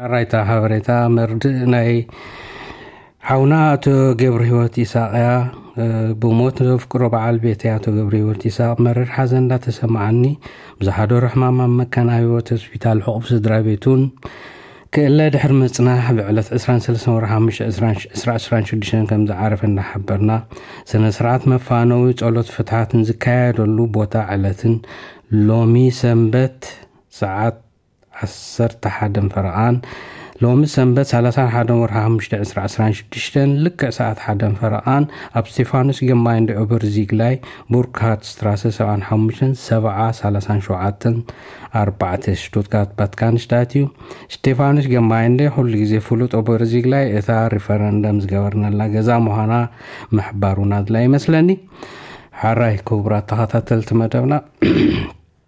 ኣራይታ ሓበሬታ መርድእ ናይ ሓውና ኣቶ ገብረ ህይወት ይስሐቅ እያ። ብሞት ዘፍቅሮ በዓል ቤት ኣቶ ገብረ ህይወት ይስሐቅ መረር ሓዘን እንዳተሰማዓኒ፣ ብዝሓደሮ ሕማም ኣብ መካን ኣብ ህይወት ሆስፒታል ሕቑፍ ስድራ ቤቱን ክእለ ድሕሪ ምጽናሕ፣ ብዕለት ዕስራን ሰለስተን ወርሒ ሓሙሽተ ዕስራን ሽዱሽተን ከም ዝዓረፈ እንዳሓበርና፣ ስነ ስርዓት መፋነዊ ጸሎት ፍትሓትን ዝካየደሉ ቦታ ዕለትን ሎሚ ሰንበት ሰዓት ዓሰርተ ሓደን ፈረቓን፣ ሎሚ ሰንበት ሰላሳን ሓደን ወርሒ ሓሙሽተ ዕስራ ዕስራን ሽዱሽተን ልክዕ ሰዓት ሓደን ፈረቓን ኣብ ስቴፋኖስ ገማይንደ ኦበርዚግላይ ቡርክሃርት ስትራሰ ሰብዓን ሓሙሽተን ሰብዓ ሰላሳን ሸውዓተን ኣርባዕተ ሽቱትጋርት ባትካንሽታት እዩ። ስቴፋኖስ ገማይንደ ኩሉ ግዜ ፍሉጥ ኦበርዚግላይ እታ ሪፈረንደም ዝገበርነላ ገዛ ምዃና ምሕባሩና ኣድላይ ይመስለኒ። ሓራይ ክቡራት ተኸታተልቲ መደብና